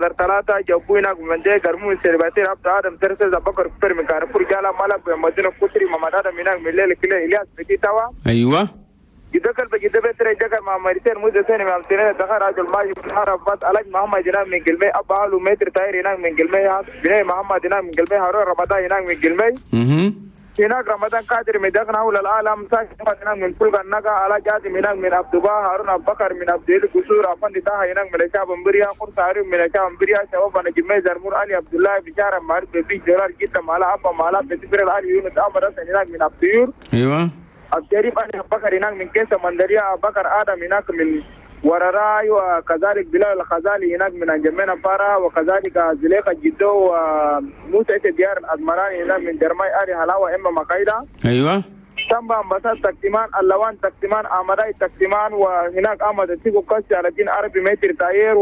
3 جابوا هناك من دي قرمو سيرباتير عبد ادم ترسل بكر كفر من كارفور جالا مالك مدينه كتري محمد ادم هناك من الليل كله الياس بتي توا. ايوه يذكر بجد بتر جكر مع مريتين موزة ثاني مع سنة دخل رجل ماجي حرب بس علاج محمد هناك من قلمي ابا له متر تاير هناك من قلمي بني محمد هناك من قلمي هارون رمضان هناك من قلمي هناك رمضان قادر من دخل حول العالم ساكن هناك من فلق النقا على جازم هناك من عبد الله هارون ابو بكر من عبد القصور افندي طه هناك من شعب امبريا قرص هارون من شعب امبريا شباب انا جميع زرمور علي عبد الله بشارة معروف بفي جرار جدا مالا ابا مالا بتفر علي يونس امر هناك من عبد ايوه الشريف علي ابو بكر هناك من كيسة مندريا ابو بكر ادم هناك من ورراي وكذلك بلال الخزالي هناك من انجمينا فارا وكذلك زليخة جدو وموسى ديار الأزمراني هناك من درماي آري هلاوة إما مقايدة. أيوة تنبا أمباسات تكتمان اللوان تكتمان أمداي تكتمان وهناك أحمد السيكو كاسي على دين عربي متر تاير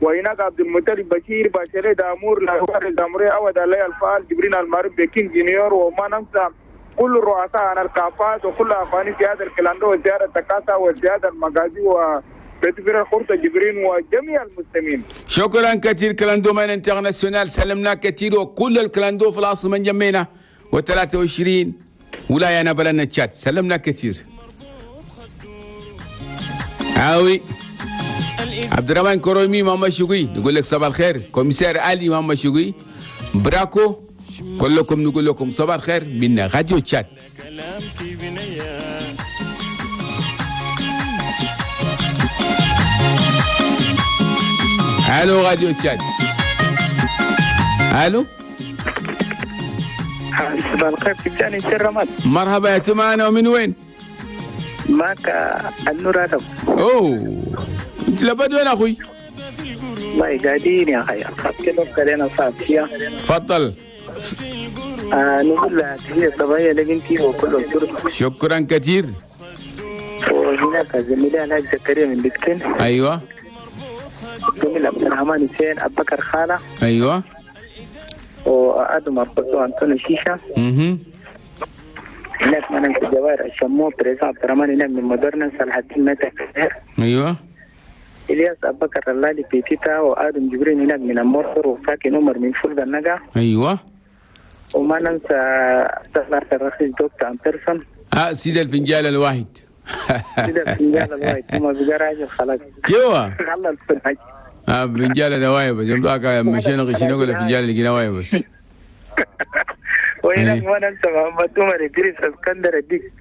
وهناك عبد المطلب بشير بشير دامور لاهوار الداموري أود علي الفال جبرين المعروف بكين جونيور وما ننسى كل الرؤساء عن الكافات وكل أخواني في هذا الكلاندو وزيارة تكاسا وزيارة المغازي وبتفير خرطة جبرين وجميع المسلمين. شكرا كثير كلاندو مان انترناسيونال، سلمنا كثير وكل الكلاندو في العاصمة جمينا و23 ولاية نبلنا تشاد، سلمنا كثير. عاوي عبد الرحمن كرومي ماما شوقي نقول لك صباح الخير، commissaire علي ماما شوقي براكو كلكم نقول لكم صباح الخير من راديو تشاد. الو راديو تشاد. الو صباح الخير تجاني سر رماد. مرحبا يا تمانا، ومن وين؟ معك النور ادم. اوه انت لبد وين اخوي؟ والله قاعدين يا اخي كده علينا صعب. تفضل. نقول لها تحية صباحية لبنتي وكل الشرطة. شكرا كثير. وهناك زميلي الحاج زكريا من بكتن. ايوه. زميل عبد الرحمن حسين أبو بكر خالة. ايوه. وادم أرقصو أنطوني شيشة. هناك من الجوائر الشمو بريزا عبد الرحمن هناك من مدرنا صلاح الدين متى. ايوه. الياس ابو بكر اللالي بيتيتا وادم جبرين هناك من المرسر وفاكن عمر من فلد النجا. ايوه. وما ننسى استاذ الرخيص دكتور أنترسون. سيد الفنجان الواحد. سيد الفنجان الواحد هما بقى راجل خلاص. ايوه. خلص الحاج. فنجان الواحد بس يوم مشينا غشينا ولا فنجان اللي قلنا واحد بس. وهناك ما ننسى محمد عمر ادريس اسكندر الديك.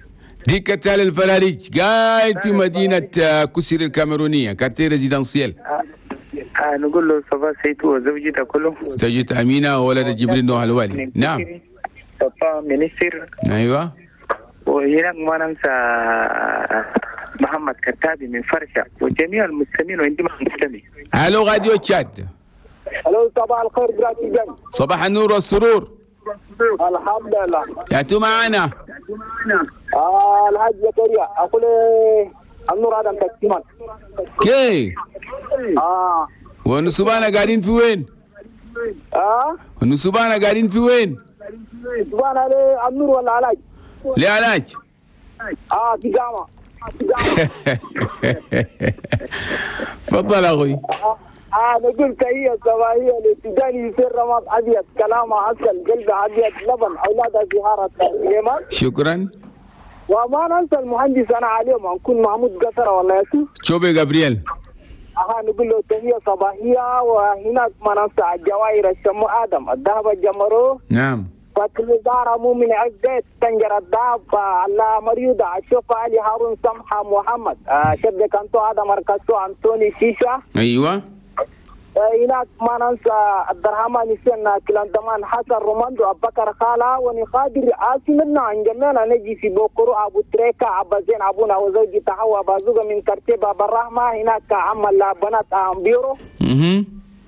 ديك تال الفلاريج قاعد في مدينة كسر الكاميرونية quartier résidentiel. نقول له صباح سيد وزوجته كله. زوجته أمينة وولد جبريل نوح الوالي. نعم. بابا منيسر. أيوة. وهناك ما ننسى محمد كتابي من فرشة وجميع المسلمين وعندما مسلمين. ألو راديو تشاد. ألو صباح الخير جراتي. صباح النور والسرور. الحمد لله. يا معنا. الحاج زكريا أقول النور آدم تكتمان. كي. والنسبانة قاعدين في وين؟ والنسبانة قاعدين في وين؟ نسبانة ليه النور ولا علاج؟ ليه علاج؟ في جامعة. تفضل أخوي. نقول تحية صباحية للتجاني يصير رماد أبيض كلامه عسل قلبه أبيض لبن أولادها زهارة سليمان. شكرا. وما ننسى المهندس أنا عليهم نكون محمود قصرة والله ياسو. شوبي جابرييل. نقول له تحية صباحية. وهناك ما ننسى الجواهر الشمو آدم الذهب الجمرو. نعم. فكل دار مؤمن عزت تنجر الداب الله مريضة الشوف علي هارون سمحة محمد شد كانتو آدم مركزو أنتوني شيشة. أيوة. هناك ما ننسى عبد الرحمن سنة كلاندمان حسن روماندو أبو بكر خالة ونقادر عاصمنا عن جميعنا نجي في بوكرو أبو تريكا أبو زين أبونا وزوجي تحوى بازوغا من كرتيبة بالرحمة. هناك عم البنات بيرو.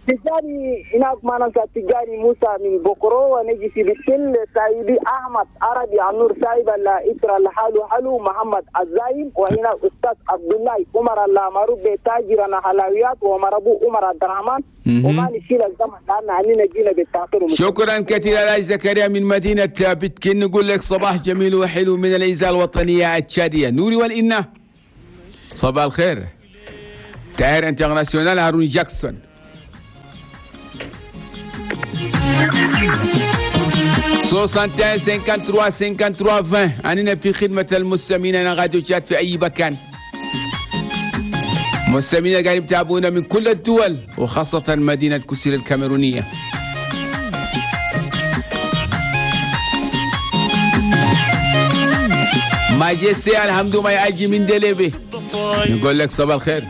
تجاري هناك ما ننسى تجاري موسى من بوكرو ونجي في بكل سايبي أحمد عربي عنور سايب الإسرة الحالو حلو محمد الزايم. وهنا أستاذ عبد الله عمر المعروف بتاجر حلويات ومربو عمر عبد الرحمن. وما نشيل الزمن لأن عنينا جينا بالتأخير. شكرا كثيرا لاج زكريا من مدينة بتكين. نقول لك صباح جميل وحلو من الإذاعة الوطنية التشادية نوري والإنة. صباح الخير. تاير international هارون جاكسون. 61 53 53 20. أننا في خدمة المستمعين، أنا راديو تشاد في أي مكان. مستمعينا قاعدين يتابعونا من كل الدول وخاصة مدينة كوسيل الكاميرونية. ما جيسي الحمد ما يأجي من دليبي، نقول لك صباح الخير.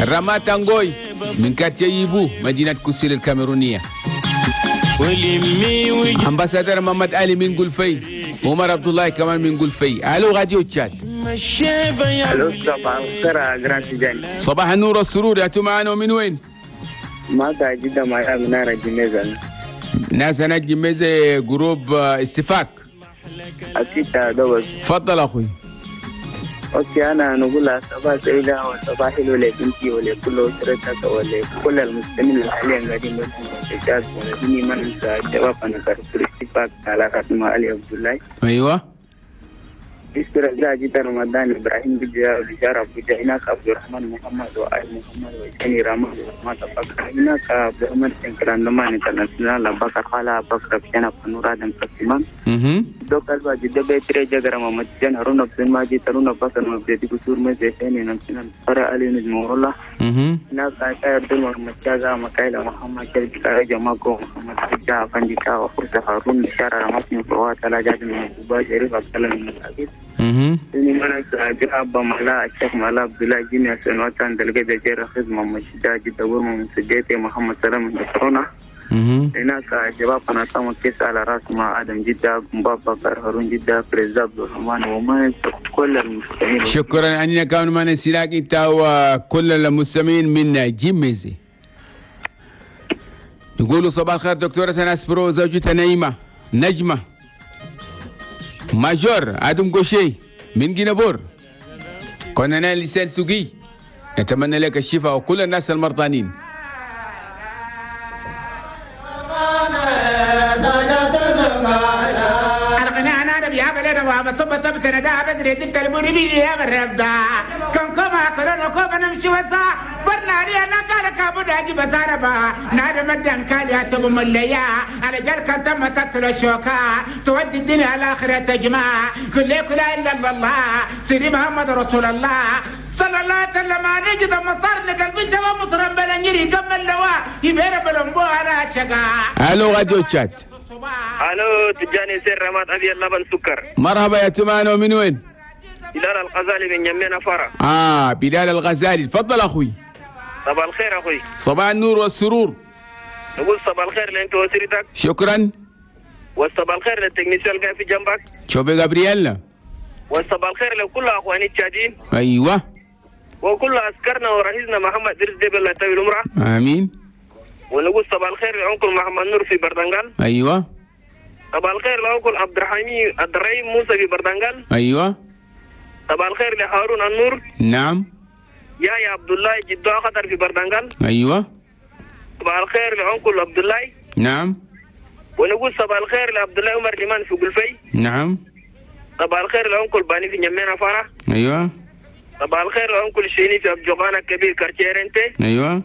رماتانغوي من كاتيا يبو مدينة كوسيل الكاميرونية. ambassadeur محمد علي من قلفي، عمر عبد الله كمان من قلفي. الو راديو تشاد. الو صباح الخير يا grand تجاني. صباح النور والسرور، يا معانا ومن وين؟ ما جدا مع منارة جميزة. ناس انا جميزة groupe استفاق. اكيد دوس. تفضل اخوي. okay انا نقول صباح سعيدة وصباح حلو لبنتي ولكل اسرتك ولكل المسلمين حاليا قاعدين بس ولدني ما ننسى الشباب انا كرسول اتفاق على راسنا علي عبد الله. ايوه. استرجاع جدا رمضان ابراهيم بجا بجارة بجا هناك عبد الرحمن محمد وآل محمد وجاني رامز وما تبقى هناك عبد الرحمن سنكران لما انترناشونال بكر خالا بكر بشنا فنور آدم سليمان دوك البا جدا بيتري جغرا محمد جن هارون عبد الماجد هارون بكر مبدي كسور مزيتين نمسنا فرع علي نجم الله هناك عبد محمد شاغا مكايلا محمد شركة جماعة محمد حجا فنديكا وفرصة هارون شارع رمضان فوات على جاد من شريف عبد الله من العزيز. إني من أجرب ملا الشيخ ملا عبد الله جيني سنوات دلقة جير خدمة مشجع جدا ورم من محمد سلام من كورونا. هناك شباب قناة كيس على راس مع آدم جدة بابا هارون جدة بريزاب عبد الرحمن وما كل المستمعين. شكرا أننا كانوا ما نسيناك أنت وكل المستمعين من جيميزي. نقولوا صباح الخير دكتورة سناس برو زوجتها نعيمة نجمة major آدم غوشي من جينابور. كنا لسان سوقي، نتمنى لك الشفاء وكل الناس المرضانين. تودي الدنيا الآخرة تجمع كل لا إلا الله سيدي محمد رسول الله صلى الله عليه وسلم. نجد مطرنا قلبي شباب مصر بلنجري كم اللواء يبير بلنبو على شقا. الو راديو تشاد. الو تجاني سير رماد ابي اللبن سكر. مرحبا يا تمانو، من وين؟ بلال الغزالي من يمين فرع. بلال الغزالي، تفضل اخوي. صباح الخير اخوي. صباح النور والسرور. نقول صباح الخير لانت وسيرتك. شكرا. والصباح الخير لل technicien اللي قاعد في جنبك. شوبي غابرييل. والصباح الخير لكل اخواني التشادين. ايوه. وكل عسكرنا ورئيسنا محمد درس ديب الله يطول عمره. امين. ونقول صباح الخير ل oncle محمد نور في بردنغال. ايوه. صباح الخير ل oncle عبد الرحيم عبد الرحيم موسى في بردنغال. ايوه. صباح الخير لهارون النور. نعم. يا عبد الله جدو خطر في بردنغال. ايوه. صباح الخير ل oncle عبد الله. نعم. ونقول صباح الخير لعبد الله عمر ليمان في قلفي. نعم. صباح الخير ل oncle باني في نيمينا فرح. ايوه. صباح الخير ل oncle شيني في ابجوغانا كبير كارتيرنتي. ايوه.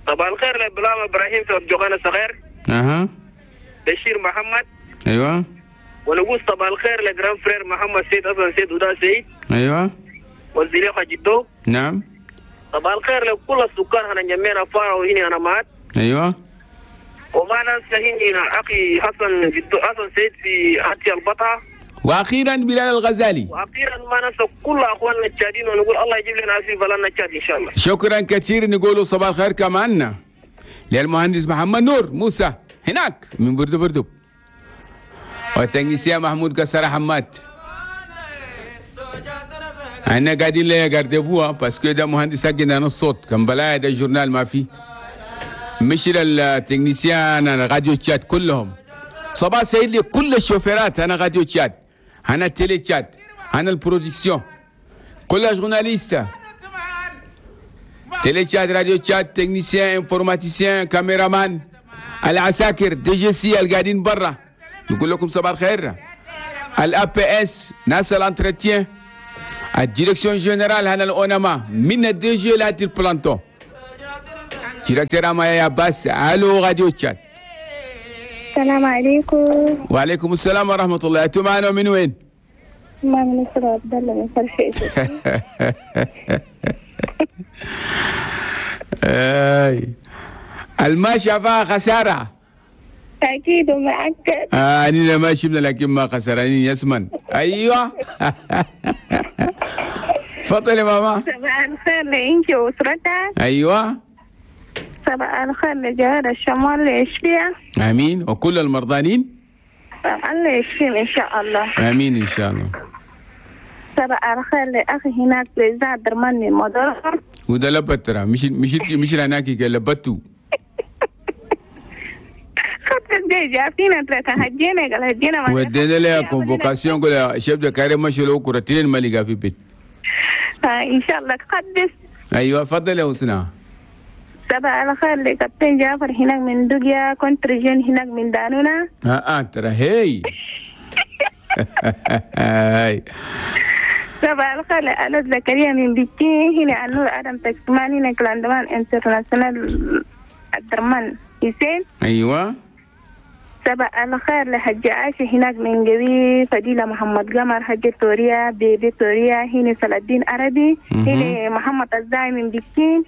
صباح الخير لبلام ابراهيم في ابجوغانا الصغير. اها. بشير محمد. ايوه. ونقول صباح الخير ل grand frère محمد سيد حسن سيد ودا سيد. ايوه. والزليخه جدو. نعم. صباح الخير لكل السكان هنا نيمينا فرح وهنا انا مات. ايوه. وما ننسى هنا اخي حسن جدو حسن سيد في عتي البطعه. واخيرا بلال الغزالي. واخيرا ما ننسى كل اخواننا التشادين ونقول الله يجيب لنا في بلدنا التشاد ان شاء الله. شكرا كثير. نقول صباح الخير كمان للمهندس محمد نور موسى هناك من بردو بردو، والتنجيسية محمود قصر حماد. احنا قاعدين ليه قاردبوها parce que ده مهندس حقنا الصوت كان بلايا ده journal ما فيه مش ال technicien راديو تشاد كلهم. صباح سعيد لكل الشوفيرات انا راديو تشاد، انا télé تشاد، انا ال production، كل journalistes télé تشاد راديو تشاد، technicien، informaticien، caméraman، العساكر DGC القاعدين برا، نقول لكم صباح الخير. ال APS ناس ال entretien، ال direction générale هنا الاونما من ال DG لهات ال planton، directeur ما يا باس. الو راديو تشاد. السلام عليكم. وعليكم السلام ورحمة الله. أنتم معنا من وين؟ ما من نصر عبد الله من فرشيش. الما شافها خسارة. أكيد ومؤكد. أنا ما شفنا لكن ما خسرانين يسمن. أيوه. تفضلي يا ماما. صباح الخير لإنتي وأسرتك. أيوه. صباح الخير لجوهر الشمال ليشفيها. آمين. وكل المرضانين؟ الله يشفيهم إن شاء الله. آمين إن شاء الله. صباح الخير لأخي هناك لزاد درمان من مدرسة. وده لبت ترى مش هناك لبتو. ودينا لها كونفوكاسيون قول شيف ده كريم مشي له كرتين ما لقى في بيت. ان شاء الله تقدس. ايوه تفضل يا حسنى. صباح الخير لكابتن جعفر هناك من دوجيا، كونترجين هناك من دانونا. ترى هي. صباح الخير لألو زكريا من بكين، هنا النور ادم تكسمان، هنا كلاندمان انترناسيونال الدرمان حسين. ايوه. صباح الخير لحج عائشة هناك من قوي، فضيلة محمد قمر، حج توريا، بيبي توريا، هنا صلاح الدين عربي، هنا محمد الزاي من بكين.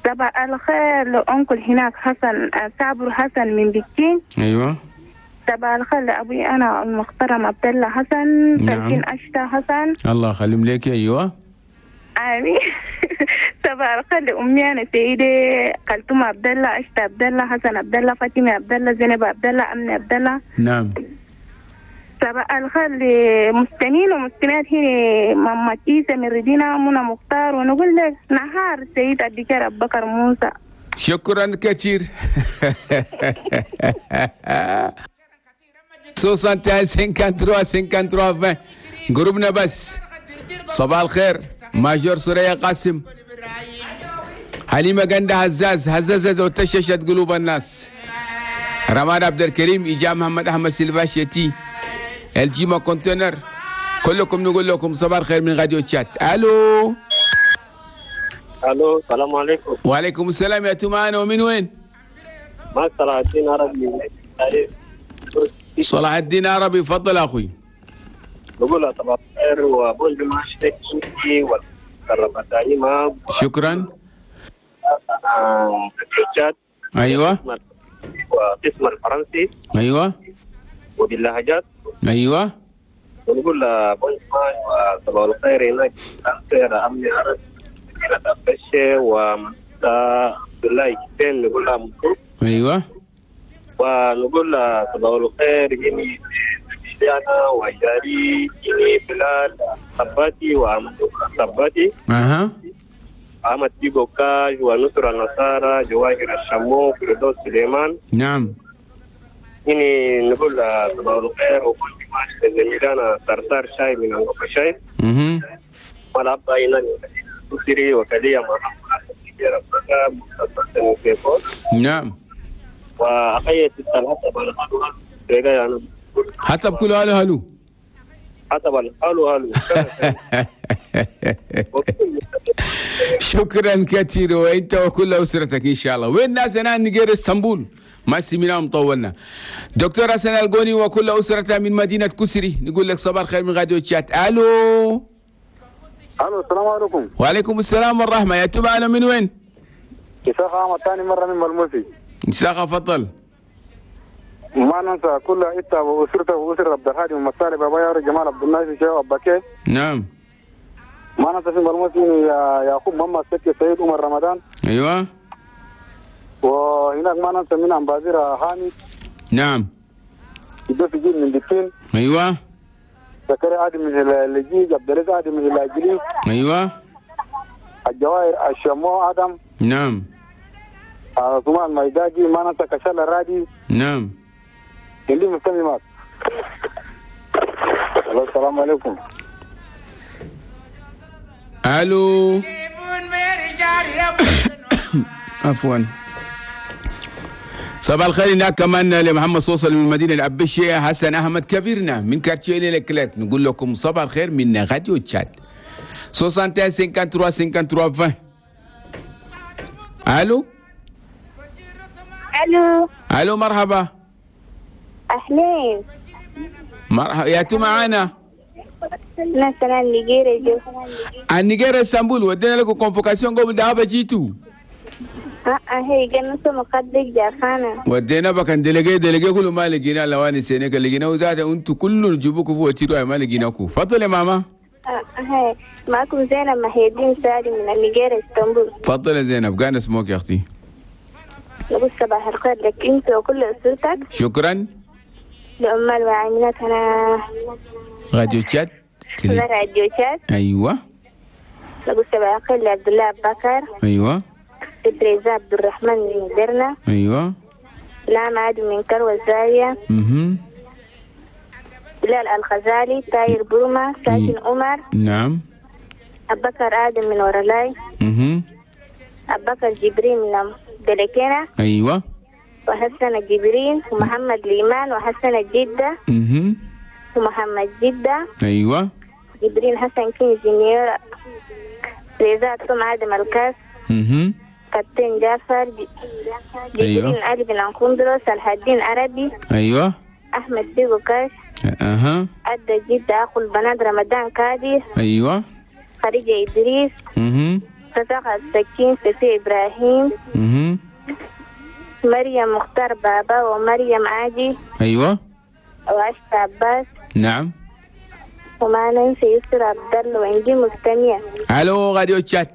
صباح الخير لأنكل هناك حسن صابر حسن من بكين. أيوة. صباح الخير لأبوي أنا المحترم عبد الله حسن. نعم. أشتا حسن. الله يخليهم لك. أيوة. آمين. صباح الخير لأمي أنا سيدة كلثوم عبد الله، أشتا عبد الله، حسن عبد الله، فاطمة عبد الله، زينب عبد الله، أمنة عبد الله. نعم. صباح الخير لمستمعين ومستمعات هنا ماما كيسة من ردينا منى مختار، ونقول لك نهار سيد الدكتور أبو بكر موسى. شكرا كثير. 61 53 53 20 جروبنا بس. صباح الخير ماجور سوريا قاسم، حليمة جندة هزاز هزازت وتششت قلوب الناس، رماد عبد الكريم، إجا محمد أحمد سيلفاشيتي، الجيما كونتينر، كلكم نقول لكم صباح الخير من راديو تشات. الو الو، السلام عليكم. وعليكم السلام. يا معانا ومن وين؟ معك صلاح الدين عربي. صلاح الدين عربي، تفضل اخوي. بقول صباح الخير وبقول بمعشتك والرمضاني. شكرا. ايوه. وقسم الفرنسي. ايوه. وباللهجات. ايوه. ونقول بونجمان وصباح الخير هناك خير امني عرب مدينة وعبد الله كتين نقول لها مبروك. ايوه. ونقول صباح الخير هني انا وجاري هني بلال صباتي وأحمد صباتي. اها. أحمد بيبو كاج ونصر النصارى جواهر الشمو فردوس سليمان. نعم. هني نقول صباح الخير وكل ما زميلنا صرصار شاي من أنغوفا شاي. والأبا هنا سيري وكلية نعم. وأخي حتى بكل هالو هالو. حتى هالو هالو. شكرا كثير وانت وكل اسرتك ان شاء الله. وين الناس انا نجير اسطنبول ما سمينا مطولنا. دكتور حسن القوني وكل اسرته من مدينه كسري نقول لك صباح الخير من راديو تشات. الو الو، السلام عليكم. وعليكم السلام والرحمه. يا معنا من وين؟ إساقة أحمد ثاني مرة من ملموسي. إساقة تفضل. ما ننسى كل إتا وأسرته وأسرة عبد الهادي ومسالي بابا يارو جمال عبد الناصر شيخ أباكي. نعم. ما ننسى في ملموسي يعقوب محمد سكي سيد عمر رمضان. أيوه. وهناك ما ننسى من أمبازير حامد. نعم. يدوس جيل من بكين. أيوه. زكريا آدم من الجيج، عبد الرزاق آدم من الجليل. أيوه. الجواهر الشمو آدم. نعم. عثمان ميداجي، ما ننسى كشال الرادي. نعم. اللي مستمع معك. السلام عليكم. الو. عفوا. صباح الخير هناك كمان لمحمد صوصل من مدينة العبشية، حسن أحمد كبيرنا من كارتييه لكليرك. نقول لكم صباح الخير من راديو تشاد. 61 53 53 20. الو. الو. الو مرحبا. اهلين. مرحبا يا تو معانا. مثلا نيجيريا جو. النيجيريا اسطنبول ودينا لكم convocation قبل ده جيتو. هي جنة مقدق جاخانة. ودينا بكن délégué كله ما لقينا لواني سنة لقينا وزاد انتو كله جيبوكوا فوق تيروا ما لقيناكو. تفضل يا ماما. هي معكم زينب محي الدين سالم من النيجيريا اسطنبول. تفضل يا زينب كان اسمك يا اختي. نقول صباح الخير لك انت وكل اسرتك. شكرا. لأمال وعاملات هنا راديو تشاد. راديو تشاد. ايوه. نقول صباح الخير لعبد الله بكر. ايوه. بريزا عبد الرحمن من درنا. ايوه. نعم عادل من كروة الزاوية. بلال الغزالي تاير بروما ساكن عمر. نعم. أبكر آدم من ورلاي. أبكر جبريل من دلكينة. ايوه. وحسن جبريل ومحمد ليمان وحسن جدة. ومحمد جدة. ايوه. جبريل حسن كين جونيور رضا توم آدم الكاس. كابتن جعفر جبرين. أيوة. علي بن عنقندرو صلاح الدين عربي. ايوه. احمد بيجو كاش. اها. ادى جدة اخو البنات رمضان كادي. ايوه. خديجة ادريس. صداقة السكين سفي ابراهيم. مريم مختار بابا ومريم عادي. ايوه. وعشت عباس. نعم. وما ننسى يسر عبد الله وعندي مستمع. الو راديو تشات.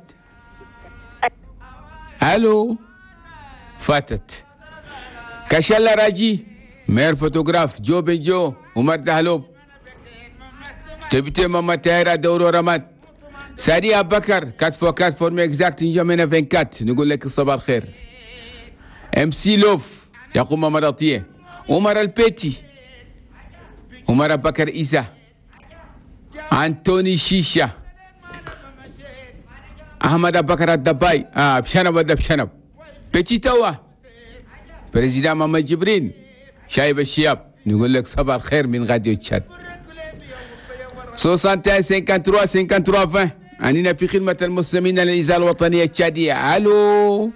الو فاتت. كشلا راجي meilleur photographe جو بن جو عمر دهلوب تبتي ماما تايرا دورو رمات سادي ابو بكر 4 x 4 forme exacte نجمنا 24. نقول لك الصباح الخير. MC لوف يقوم مراتيه عمر البيتي عمر ابو بكر عيسى انتوني شيشه احمد ابو بكر الدباي بشنب ولا بشنب بيتي توا président محمد جبرين شايب الشياب. نقول لك صباح الخير من راديو تشاد. 61 53 53 20. أننا في خدمة المسلمين للإذاعة الوطنية التشادية. ألو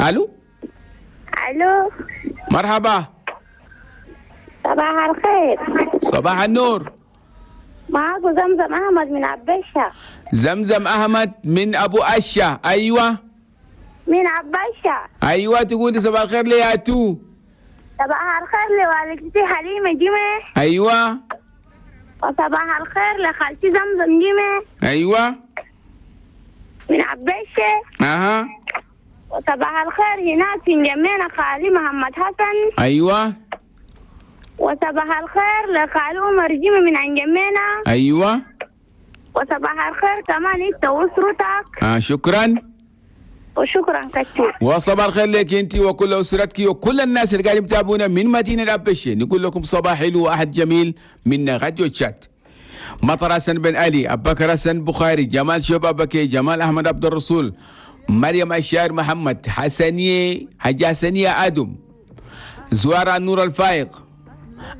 ألو ألو. مرحبا. صباح الخير. صباح النور. معاكم زمزم أحمد من عباشة. زمزم أحمد من أبو أشة. أيوة. من عباشة. أيوة تقولي صباح الخير لي تو. صباح الخير لوالدتي حليمة جمعة. أيوة. وصباح الخير لخالتي زمزم جمعة. أيوة. من عباشة. أها. وصباح الخير هناك في جمينا خالي محمد حسن. أيوة. وصباح الخير لخالي عمر جمعة من عند جمينا. أيوة. وصباح الخير كمان أنت وأسرتك. شكرا. وشكرا كثير. وصباح الخير لك انت وكل اسرتك وكل الناس اللي قاعدين يتابعونا من مدينه الابشه. نقول لكم صباح حلو واحد جميل من راديو تشات. مطر حسن بن علي، ابو بكر حسن بخاري، جمال شوب ابكي، جمال احمد عبد الرسول، مريم الشاعر محمد، حسنيه حاجه حسنيه ادم، زوارة نور الفايق،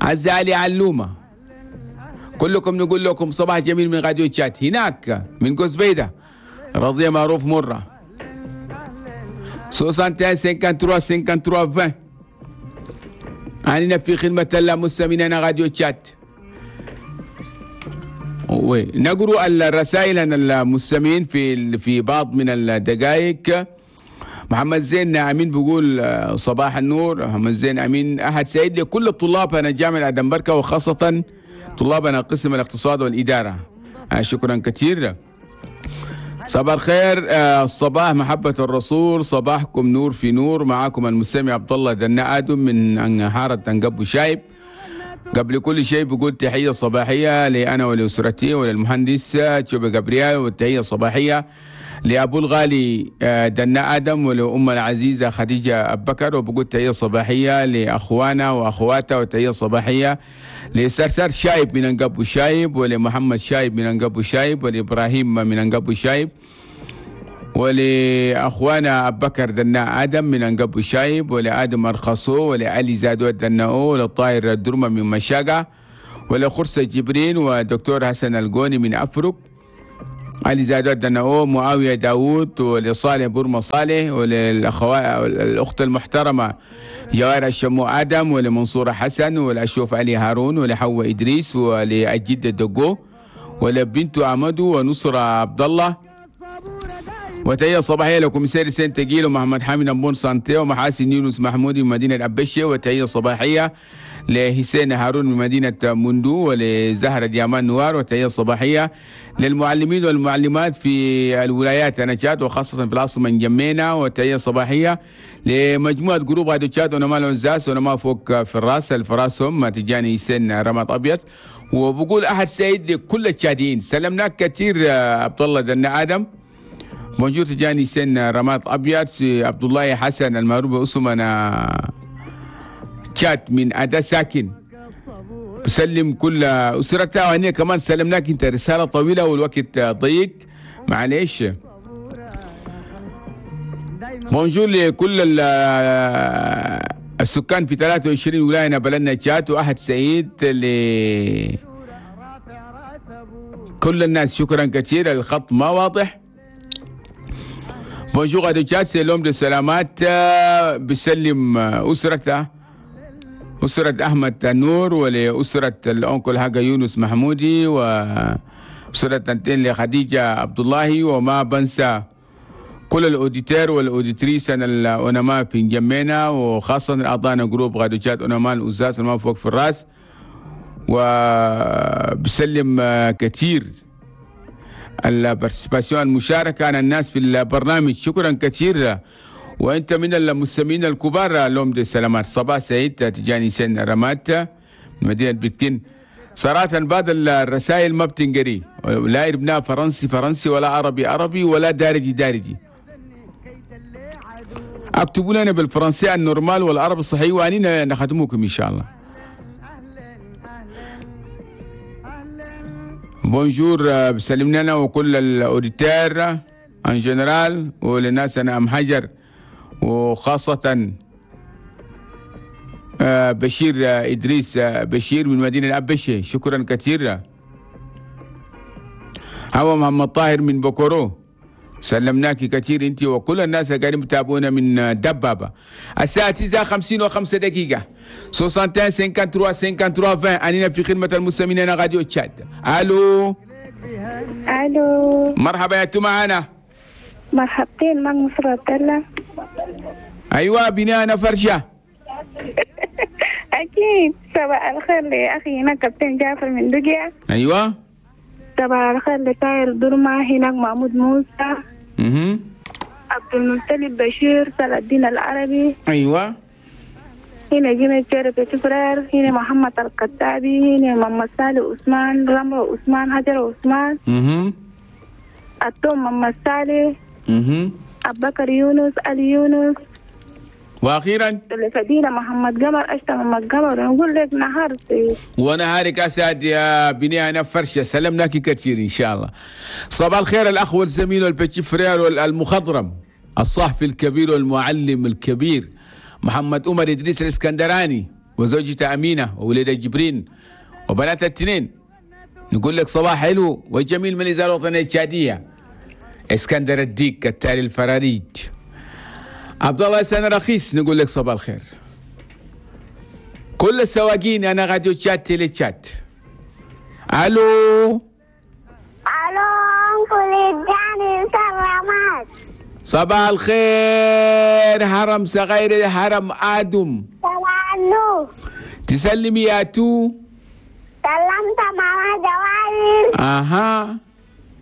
عزة علي علومه. كلكم نقول لكم صباح جميل من راديو تشات. هناك من قزبيده رضيه معروف مره 61 53 53 20. أننا في خدمة المستمعين راديو تشات. نقرأ الرسائل عن المستمعين في بعض من الدقائق. محمد زين أمين بيقول صباح النور. محمد زين أمين أحد سعيد لكل الطلاب أنا جامعة آدم بركة وخاصة طلابنا قسم الاقتصاد والإدارة. شكرا كثير. صباح الخير. الصباح محبة الرسول، صباحكم نور في نور. معاكم المستمع عبد الله دنا آدم من حارة تنقب شايب. قبل كل شيء بقول تحية صباحية لأنا ولأسرتي وللمهندس تشوبي جابريال، والتحية الصباحية لأبو الغالي دنا آدم ولأم العزيزة خديجة أبو بكر، وبقول تحية صباحية لأخوانا وأخواتها، وتحية صباحية لسرسر شايب من أنقب شايب، ولمحمد شايب من أنقب شايب، ولإبراهيم من أنقب شايب، ولأخوانا أبو بكر دنا آدم من أنقب شايب، ولآدم أرخصو، ولعلي زادو الدناؤ، ولطاهر الدرمة من مشاقة، ولخرسة جبرين، ودكتور حسن القوني من أفرق، علي زادات دناو، معاوية داوود، ولصالح بورما صالح، وللأخوات الأخت المحترمة جوار الشمو آدم، ولمنصورة حسن، ولأشوف علي هارون، ولحواء إدريس، ولأجد الدقو، ولبنت عمدو، ونصرة عبد الله. وتحية صباحية لكم سير سين تجيل ومحمد حامد أمبون سانتي ومحاسن يونس محمودي من مدينة أبشة. وتحية صباحية لحسين هارون من مدينة مندو، ولزهرة ديامان نوار. وتحية صباحية للمعلمين والمعلمات في الولايات نشاد وخاصة في العاصمة نجمينا. وتحية صباحية لمجموعة groupe راديو تشاد ونما العنزاس ونما فوق في الراس الفراسهم تجاني سن رماد أبيض. وبقول أحد سعيد لكل التشاديين. سلمناك كثير عبد الله دنا آدم. bonjour تجاني سن رماد أبيض. عبد الله حسن المعروف باسمنا تشات من أدا ساكن، بسلم كل أسرتها. وهني كمان سلمناك انت، رسالة طويلة والوقت ضيق معليش. bonjour لكل السكان في 23 ولاية بلدنا تشات. وأحد سعيد لكل الناس، شكرا كثير. الخط ما واضح. bonjour راديو تشات، سلام دي سلامات. بسلم أسرته، أسرة أحمد النور، ولأسرة ال oncle حاجة يونس محمودي، وأسرة تنتين لخديجة عبد الله. وما بنسى كل ال auditeurs وال auditrices الأنما في جمينا، وخاصة أعضاءنا groupe راديو تشاد أنما الأزاز أنما فوق في الراس. وبسلم كثير ال participation المشاركة عن الناس في البرنامج، شكرا كثير. وانت من المستمعين الكبار لوم دي سلامات. صباح سعيد تجاني سن رمات مدينة بكين. صراحة بعض الرسائل ما بتنقري، لا ابناء فرنسي فرنسي ولا عربي عربي ولا دارجي دارجي. اكتبوا لنا بالفرنسي ال normal والعربي الصحيح وانينا نخدموكم ان شاء الله. bonjour بسلم لنا وكل ال auditeurs en général وللناس انا ام حجر، وخاصة بشير إدريس بشير من مدينة أبشة، شكرا كثيرا. هو محمد طاهر من بوكورو، سلمناك كثير انت وكل الناس اللي قاعدين بتابعونا من دبابة. الساعة 9:55 61 53 53 20. أننا في خدمة المستمعين راديو تشاد. الو الو، مرحبا يا معنا. مرحبتين، معك مصر عبد الله. ايوه بناء فرشه. اكيد. صباح الخير لاخي هناك كابتن جعفر من دقيا. ايوه. صباح الخير لطاير درما هناك محمود موسى. عبد المطلب بشير، صلاح الدين العربي. ايوه. هنا جيمي تشير بتفرر، هنا محمد القتابي، هنا محمد صالح عثمان، رمرو عثمان، حجر عثمان. التوم محمد صالح. أبو بكر يونس، علي يونس. واخيرا فدينا محمد قمر، اشتا محمد قمر. نقول لك نهار سعيد. ونهارك اسعد يا بني انا فرشه، سلمناك كثير ان شاء الله. صباح الخير الاخ والزميل وال petit frère والمخضرم الصحفي الكبير والمعلم الكبير محمد عمر ادريس الاسكندراني وزوجته امينه وولده جبرين وبنات الاثنين. نقول لك صباح حلو وجميل من الاذاعة الوطنية التشاديه. اسكندر الديك التالي الفراريج. عبد الله سنة رخيص، نقول لك صباح الخير. كل السواقين انا راديو تشاد تيلي تشاد. الو الو، uncle جاني سلامات. صباح الخير هرم صغير هرم ادم. صباح النور. تسلمي يا تو. سلمت ماما جوائز. اها.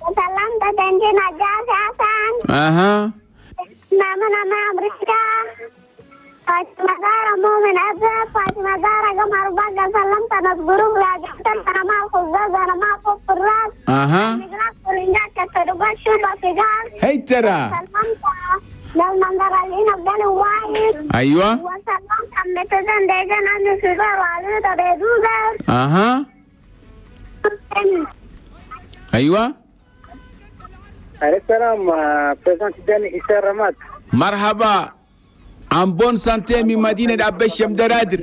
سلمت تنجينا جاز حسن. اها. ماما ماما أمريكا. فاطمة زهرة مؤمن أزرق، فاطمة زهرة قمر بقى. سلمت ناس groupe لا جبت أنا ما الخزاز أنا ما فوق الراس. اها. هي ترى. سلمت للمنظر اللي نبدل وايد. ايوه. وسلمت أمتزن ديجن أنا سيجار وعلي تبيدوزر. اها. ايوه. عليك السلام président تجاني إسار رماد. مرحبا، en bonne santé من مدينة أبشة مدرادر.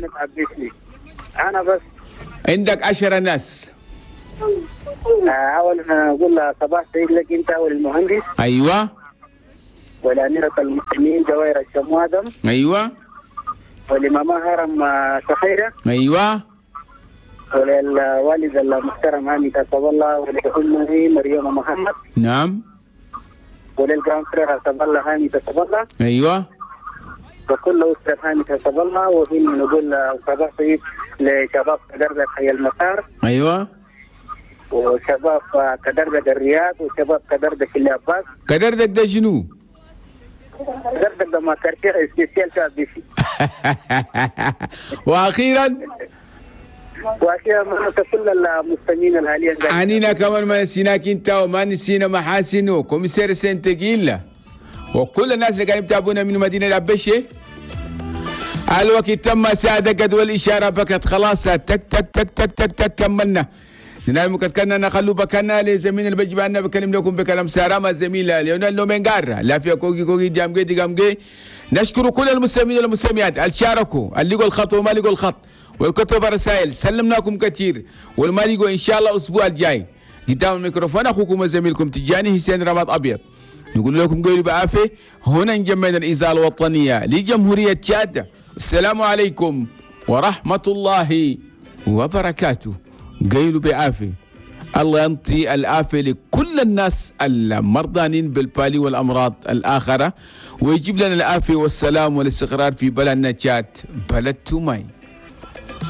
أنا بس عندك 10 ناس. اولا اقول صباح سعيد لك انت والمهندس. ايوه. والاميره المسلمين جوائر الشموادم. ايوه. ولماما هرم سخيره. ايوه. وللوالد المحترم هاني كسب الله، ولأمه مريم محمد. نعم. ولل grand frère حسب الله هاني كسب الله. ايوه. وكل أسرة هاني كسب الله. وهنا نقول صباح سعيد لشباب كدردة حي المسار. ايوه. وشباب كدردة الرياض، وشباب كدردة في العباس. كدردة ده شنو؟ كدردة ده ما quartier spécial شعب بيسي. واخيرا واخيرا ما كل المستمعين الحاليين. عنينا كمان ما نسيناك انت، وما نسينا محاسن و commissaire سنتجيلا وكل الناس اللي قاعدين يتابعونا من مدينة الأبشة. الوقت تم ساعة جدول الإشارة بكت خلاص، تك تك تك تك تك تك كملنا. نعم كنا نخلو بكنا لزميل البجبان أنا بكلم لكم بكلام سارة الزميلة ليونيل نومنغار لا فيها كوكي كوكي جامجي جامجي. نشكر كل المستمعين والمستمعات اللي شاركوا، اللي لقوا الخط وما لقوا الخط، والكتب رسائل سلمناكم كثير، والما لقوا إن شاء الله الأسبوع الجاي. قدام الميكروفون أخوكم وزميلكم تجاني حسين رماد أبيض، نقول لكم قولوا بعافية. هنا نجمعنا الإذاعة الوطنية لجمهورية تشاد. السلام عليكم ورحمة الله وبركاته. قيلوا بعافية. الله ينطي العافية لكل الناس المرضانين بالبالي والأمراض الآخرة، ويجيب لنا العافية والسلام والاستقرار في بلدنا تشاد، بلد توماي.